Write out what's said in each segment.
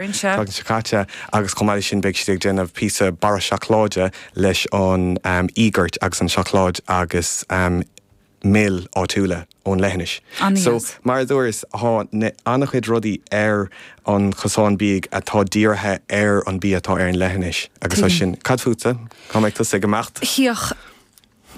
Tseachtain seo caite agus chomh maith leis sin beidh siad ag déanamh píosa barra seacláide leis an íogart agus an seacláid agus mil áitiúla ón leithinis. So mar a dúras tá an-chuid rudaí ar an chosán bídh atá dírithe ar an bia atá ar an leithinis agus tá sin. Cad fútsa? Cá mbeidh tusa ag imeacht? Chíoch.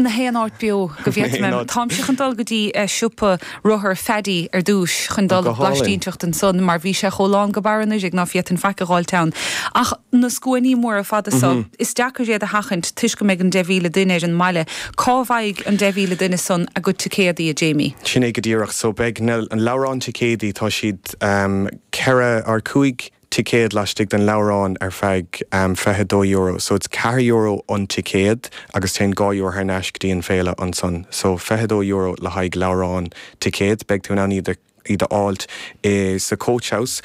Na haon áit beo go bhféadfaidh mé. Táimse chun dul go dtí siopa rothar Phaddy ar dtúis chun dul ag blaistínteacht ansan mar bhí sé chomh lán go barra anuraidh ná féadfainn faic a dh'fháilt ann. Ach na scuainí móra fada so, is deacair iad a sheachaint toisc go mbeidh an 10,000 duine ar an mbaile. Cá bhfaighidh an 10,000 duine san a gcuid ticéadaí, a Jamie? Sin é go díreach. So beidh na leabhráin ticéadaí, tá siad 4 or 5 ticéad laistigh den leabhrán ar feadh €22. So it's €4 an ticéad agus téann €2 thar n-ais go dtí an féile ansan. So €22 le haghaidh leabhrán ticéad. Beidh tú in ann iad a iad a fháilt i sa Coach House,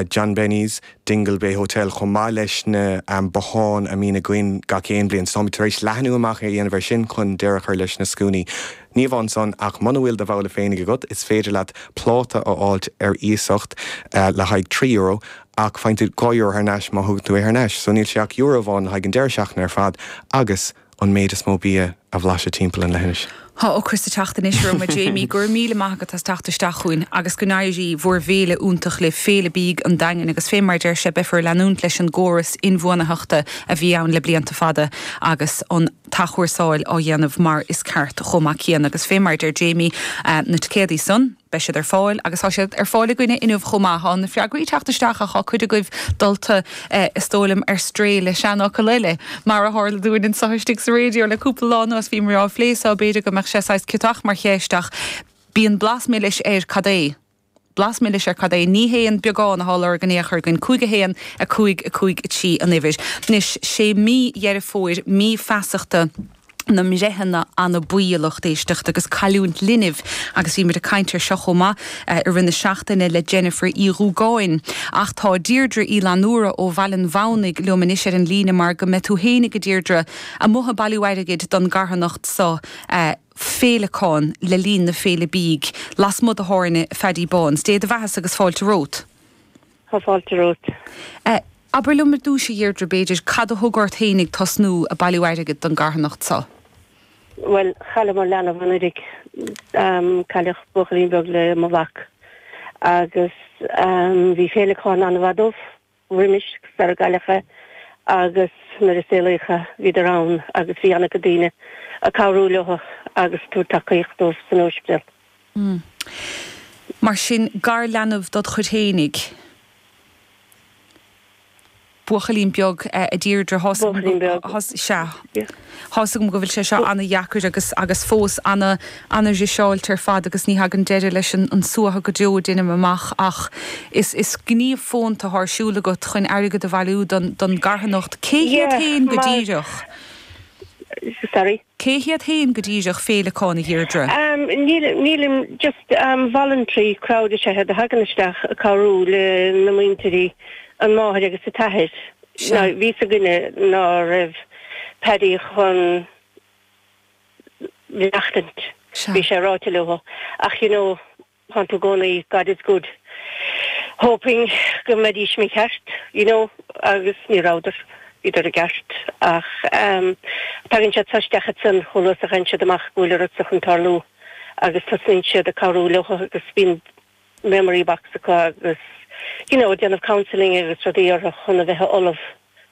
John Benny's, Dingle Bay Hotel chomh maith leis na botháin a mbíonn againn gach aon bhliain. So táimid tar éis leathnú amach a dhéanamh ar sin chun deireadh a chur leis na scuainí. Ní amháin san, ach muna bhfuil do bhabhla féinig agat, is féidir leat pláta a fháilt ar iasacht le haghaidh €3, ach faigheann tú €2 thar n-ais má thugann tú é thar n-ais. So níl sé ach euro amháin le haghaidh an deireadh seachtaine ar fad agus an méid is mó bia a bhlaiseadh timpeall an leithinis. Tá ocras ag teacht anois orm, a Jamie. Go raibh míle maith agat as teacht isteach chugainn agus go n-éirí bhur bhféile iontach libh, Féile Bídh an Daingin, agus fé mar a deir sé, beifear ag leanúint leis an gcóras inbhuanaitheachta a bhí ann le blianta fada agus an t-athchúrsáil á dhéanamh mar is ceart chomh maith céanna. Agus fé mar a deir Jamie, na ticéadaí san, beidh siad ar fáil agus tá siad ar fáil againne inniu chomh maith. Tá na freagraí ag teacht isteach ach tá cuid agaibh dulta, is dóigh liom, ar strae le seanfhocal eile, mar a tharla dúinn anseo istigh sa raidió le cúpla lá anuas. Bhíomar á phlé so, b'fhéidir go mbeadh sé saghas ciotach mar cheist ach bíonn blas milis ar cad é. Blas milis ar cad é? Ní hé an beagán atá á lorg in aon chor againn. 5 1 5 5 3 an uimhir. Anois, sé mí Dheireadh Fómhair mí feasachta na mbreitheanna anabaí, a lucht éisteachta, agus cailliúint linbh agus bhí muid ag caint air seo chomh maith i rith na seachtaine le Jennifer Uí Dhúgáin. Ach tá Deirdre Uí Fhlannúra ó Bhaile an Mhamhnaigh liom anois ar an líne mar go mbeidh tú fhéinig, a Deirdre, amuigh ag bailiú airgid don gcarthanacht so. féileacán le linn na Féile Bídh lasmuigh de thábhairne Phaddy Báns. Dé do bheathasa agus fáilte romhat. Tá fáilte romhat. Abair liom ar dtúis, a Dheirdre, b'fhéidir, cad a thug ort fhéinig tosnú a' bailiú airgid don gcarthanacht so? Bhuel, chailleamar leanbh anuraidh. Cailleadh buachaillín beag le mo mhac agus bhí féileacán an-mhaith dóibh. roimis sar a gcailleadh é agus nuair a saolaíodh é bhíodar ann agus bhí an-chuid daoine ag cabhrú leo agus tabhairt tacaíocht dóibh san óispidéal. Mar sin, garleanbh dod chuid fhéinig. Buachaillín beag, a Deirdre. Buachaillín beag. Sea. Tá's agam go bhfuil sé seo ana-dheacair agus agus fós ana ana-dhriseáilte ar fad agus ní thagann deireadh leis an an suaitheadh go deo, deinim amach, ach is is gníomh fónta atá ar siúl agat chun airgead a bhailiú don don gcarthanacht. Cé hiad Yeah, féin go mar díreach? Sorry? Cé hiad féin go díreach Féileacán, a Dheirdre? Um, níl nílim just um, voluntary crowd is ea iad a thagann isteach ag cabhrú le na muintirí, an máthair agus an t-athair. Sea. Bhí 'fhios againne ná raibh Paddy chun maireachtaint. Sea. Bhí sé ráite leo. Ach you know, tánn tú i gcónaí, God is good, hoping go mbeidís mícheart, you know, agus ní rabhadar, bhíodar i gceart. Ach ehm, tagann siad so isteach ansan chomh luath is a fhaigheann siad amach go bhfuil an rud so chun tarlú agus tosnaíonn siad ag cabhrú leo agus bíonn memory box acu agus you know déanamh counselling agus rudaí orthu chun a bheith ullamh,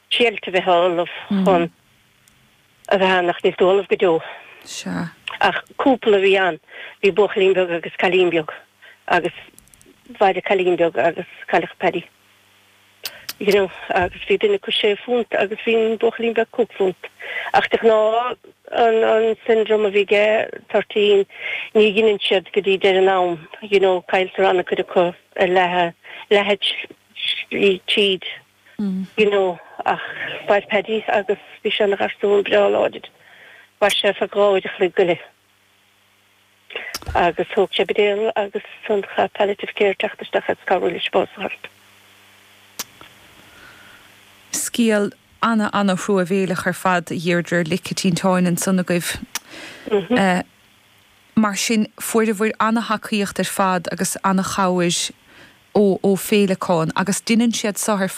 triailt a bheith ullamh chun a bheith ann ach níl tú ullamh go deo. Sea. Ach cúpla a bhí ann, bhí buachaillín beag agus cailín beag agus mhair an cailín beag agus cailleadh Paddy. You know, agus bhí duine acu sé phunt agus bhí an buachaillín beag cúig phunt. Ach de ghnáth an an syndrome a bhí aige, toirtín, ní ghineann siad go dtí deireadh an am, you know, cailltear an-chuid acu ar leath leath slí tríd, you know, ach mhair Paddy agus bhí sé ina gharsún breá láidir. Mhair sé ar feadh 2 uair a chloig go leith. Agus thóg sé buidéal agus ansan chaith palliative care teacht isteach agus cabhrú leis bás a fháilt. Scéal ana ana thruamhéileach ar fad a Dheirdre, lice tinteáin ansan agaibh. Mar sin fuaireabhair ana thacaíocht ar fad agus ana chabhair. Ó, ó féileacáin agus deineann siad seo ar.